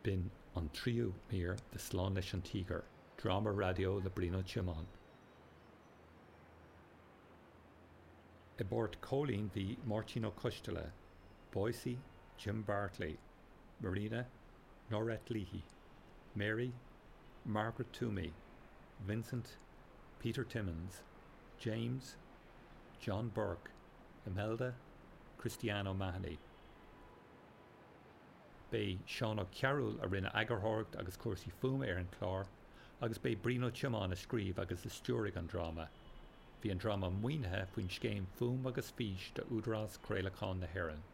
B'in an tríú mír de Slán leis an Tíogar, dráma raidió le Brian Ó Tiomáin. I bpáirt Chóilín bhí Máirtín Ó Coisteala, Boycie, Jim Bartley, Marina, Norette Leahy, Mary, Margaret Toomey, Vincent, Peter Timmins, James, John Burke, Imelda, Christiane O'Mahony. B'é Seán Ó Cearúil a rinne eagarthóireacht agus cúrsaí fuaime ar an chlár agus b'é Brian Ó Tiomáin a scríobh agus a stiúraigh an dráma. Bhí an dráma maoinithe faoin scéim Fuaim agus Fís d'Údarás Craolacháin na hÉireann.